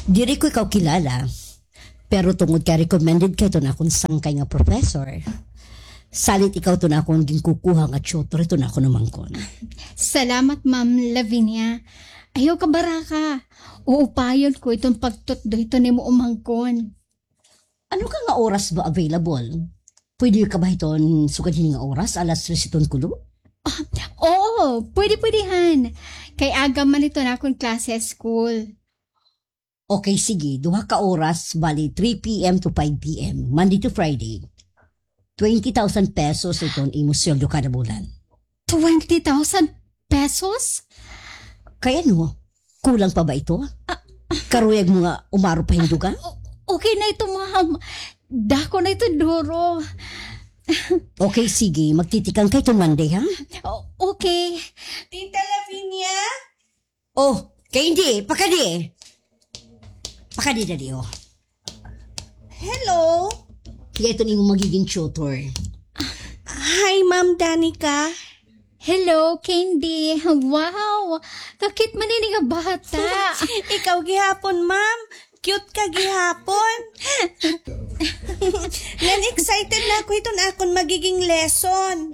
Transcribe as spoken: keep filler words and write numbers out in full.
Diri ko ikaw kilala, pero tungod kay recommended ka hiton akon sangkay nga professor, salit ikaw iton akon ginkukuha nga tutor hiton akon umangkon. Salamat, Ma'am Lavinia. Ayaw kabaraka. Uupayon ko iton pagtutdo hiton imo umangkon. Ano ka nga oras ba available? Pwede ka ba hiton sugad hini nga oras, alas tres hiton kulo? Ah, oo, pwede, pwede han. Kay aga man hiton akon klase ha school. Okay, sige. Duha ka oras, bali three p.m. to five p.m., Monday to Friday. Twenty thousand pesos iton imo sweldo kada bulan. Twenty thousand pesos? Kay ano? Kulang pa ba ito? Ah, ah. Karuyag mo nga umaro pa hin dugang? O-, okay na ito, ma'am. Dako na ito, duro. Okay, sige. Magtitikang ka iton Monday, ha? O-, okay. Tita Lavinia? Oh, Candy, pakadi. Pakadi dali, oh. Hello. Hiya iton imo magiging tutor. Hi, Ma'am Danica. Hello, Candy. Wow, ka-cute man ini nga bata. Ikaw gihapon, ma'am. Cute ka gihapon. Ngan excited na ako hiton akon magiging lesson.